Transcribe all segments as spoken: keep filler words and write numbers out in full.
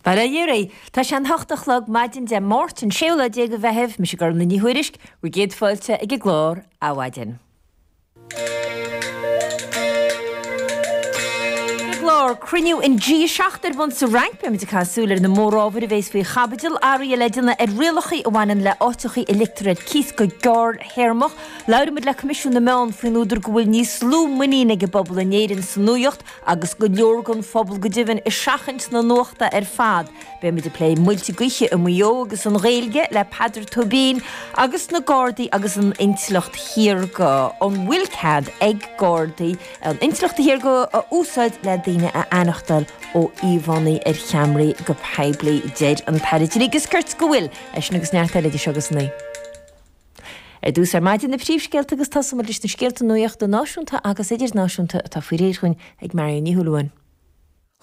Bail ó Dhia oraibh. Tá sé an hocht a chlog maidin Dé Máirt an séú lá déag de Mheitheamh, mise Gormlaith Ní Thuairisg, bhur gcéad fáilte ag an gclár Adhmhaidin. Ar an gclár, cruinniú an G a seacht ar bun sa Fhrainc, beimid ag caitheamh súil ar na mórábhair a bhéas faoi chaibidil, athruithe le déanamh ar rialacha a bhaineann le áiteacha a ligtear ar cíos go gearrthéarmach. Labhróimid le Coimisiún na Meán faoin údar go bhfuil níos lú muinín ag an bpobal in Éirinn sa nuaíocht agus go leor den phobal go deimhin ag seachaint na nuachta ar fad. Beimid ag plé muilte gaoithe i Maigh Eo agus an Ghaeilge le Peadar Tóibín agus na Gardaí agus an intleacht shaorga. An bhfuil cead ag Gardaí an intleacht shaorga a úsáid le daoine a aithneachtáil ó íomhánna ar cheamaraí go poiblí? Deir an tAire Dlí agus Cirt go bhfuil. É sin agus neart eile idir seo agus a naoi. Ar dtús ar maidin na príomhscéalta agus tosóimid leis na scéalta nuachta náisiúnta agus idirnáisiúnta atá faoi réir chugainn ag Marion Ní Shúilleabháin.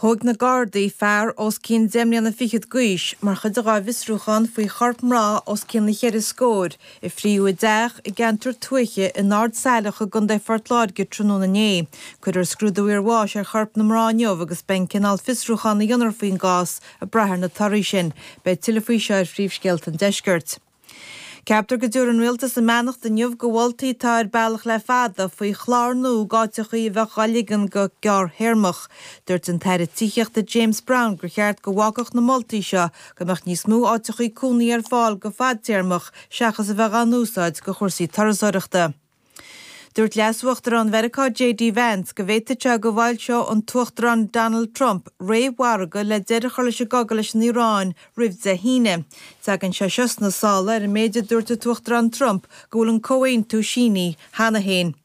Thóg na Gardaí fear os cionn deich mbliana fichead d'aois mar chuid dá bhfiosrúchán faoi chorp mná os cionn na cheithre scóir a fríodh i dteach i gceantar tuaithe in Ard Saileach i gContae Phort Láirge tráthnóna inné. Cuirfear scrúdú iarbháis ar chorp na mná inniu agus beidh an cineál fiosrúchán a dhéanfar faoin gcás ag brath ar na torthaí sin. Beidh tuilleadh faoi seo ar Phríomhscéalta an Deiscirt. Ceaptar go dtabharfaidh an Rialtas a mbeannacht inniu do mholtaí atá ar bealach le fada faoi chlár nua d'áiteachaí a bheadh á ligean go gearrthéarmach. Dúirt an tAire Tithíochta James Browne gur cheart go bhfágfadh na moltaí seo go mbeadh níos mó áiteachaí cónaí ar fáil go fadtéarmach seachas a bheith á n-úsáid do chúrsaí turasóireachta. Dúirt Leas-Uachtarán Mheiriceá J D Vance go bhféadfadh sé go bhfoilseodh an tUachtarán Donald Trump réamh-mhargadh le deireadh a chur leis an gcogadh leis an Iaráin roimh Dé hAoine. Tagann sé seo sna sála ar an méid a dúirt an tUachtarán Trump go bhfuil an comhaontú sínithe cheana féin.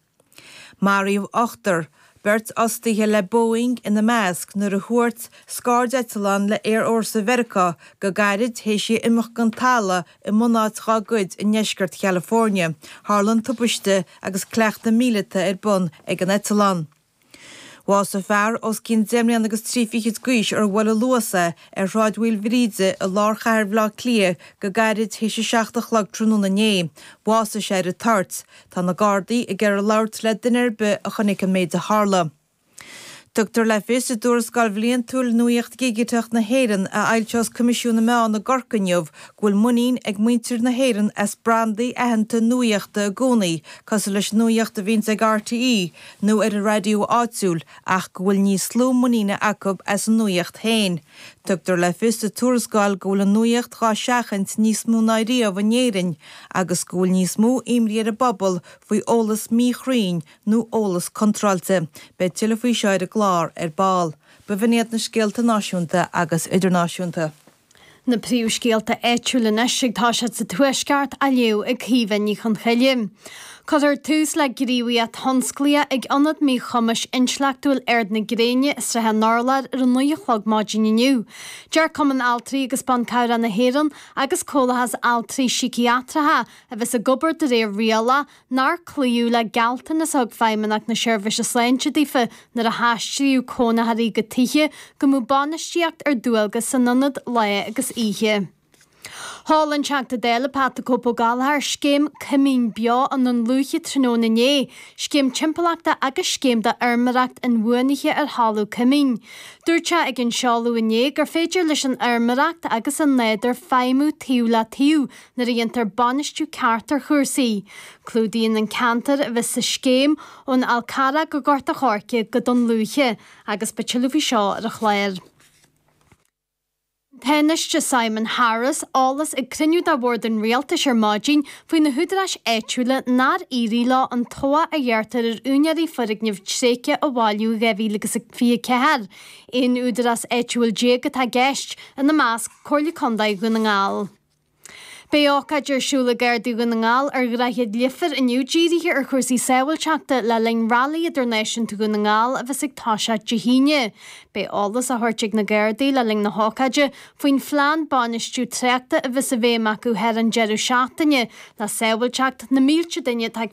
Maraíodh ochtar, beirt fhostaithe le Boeing ina measc nuair a thuairt scairdeitleán le Aerfhórsa Mheiriceá go gairid théis í imeacht den talamh i mbunáit dá gcuid i ndeisceart California. Tharla an tubaiste agus cleachtadh míleata ar bun ag an eitleán. Bhásaigh fear os cionn deich mbliana agus trí fichid d'aois ar bhuail luas é ar Shráid Mhaoilbhríde i lár chathair Bhaile Átha Cliath go gairid théis a seacht a chlog tráthnóna inné. Bhásaigh sé ar an toirt. Tá na Gardaí ag iarraidh labhairt le duine ar bith a chonaic an méid a tharla. Tugtar le fios i dtuarascáil bhliantúil Nuaíocht Dhigiteach na hÉireann a fhoilseos Coimisiún na Meán i gCorcaigh inniu go bhfuil muinín ag muintir na hÉireann as brandaí aitheanta nuaíochta i gcónaí cosúil leis an nuaíocht a bhíonns ag R T E nó ar an raidió áitiúil ach go bhfuil níos lú muiníne acu as an nuaíocht féin. Tugtar le fios sa tuarascáil go bhfuil an nuaíocht dhá seachaint níos mó ná riamh in Éirinn agus go bhfuil níos mó imní ar an bpobal faoi eolas míchruinn nó eolas contráilte. Beidh tuilleadh faoi seo ar an gclár ar ball. B'in iad na scéalta náisiúnta agus idirnáisiúnta. Na príomhscéalta áitiúla anois ag toiseacht sa Tuaisceart á léamh ag Caoimhe Ní Chonchoille. Cuirfear tús le gníomhaíocht thionsclaíoch ag Ionad Míchumais Intleachtúil Ard na Gréine i Srath an Urláir ar a naoi a chlog maidin inniu. Deir Cumann Altraí agus Ban Cabhrach na hÉireann agus Comhlachas Altraí Síciatracha a bheas ag obair de réir riail nár cloíodh le gealltanas a thug Feidhmeannacht na Seirbhíse Sláinte daofa nuair a haistríodh cónaitheoirí go tithe go mbeadh bainistíocht ar dualgas san ionad lá agus oíche. Sheol an Teachta Dála Pat the Cope Ó Gallchóir scéim Coimín Beo i nDún Lúiche tráthnóna inné, scéim timpeallachta agus scéim d'fheirmeoireacht inbhuanaithe ar thalamh coimín. Dúirt sé ag an seoladh inné gur féidir leis an fheirmeoireacht agus an nádúr feidhmiú taobh le taobh nuair a dhéantar bainistiú ceart ar chúrsaí. Clúdaíonn an ceantar a bheas sa scéim ón Fhál Carrach go Gort an Choirce go Dún Lúiche agus beidh tuilleadh faoi seo ar an chlár. Tánaiste Simon Harris eolas ag cruinniú de bhord an rialtais ar maidin faoi na húdaráis áitiúla nár éirigh leo an tobhach a ghearrtar ar úinéirí foirgneamh tréigthe a bhailiú dhá mhíle agus fiche ceathair. Aon údarás áitiúil déag atá i gceist ina measc Comhairle Contae Dhún na nGall. Beidh ócáid ar siúl ag Gardaí Dhún na nGall ar Dhroichead Leifear inniu dírithe ar chúrsaí sábháilteachta le linn Railí Idirnáisiúnta Dhún na nGall a bheas ag toiseacht Dé hAoine. Beidh eolas á thabhairt ag na Gardaí le linn na hócáide faoin phlean bainistiú tráchta a bheas i bhfeidhm acu thar an deireadh seachtaine le sábháilteacht na mílte duine atá ag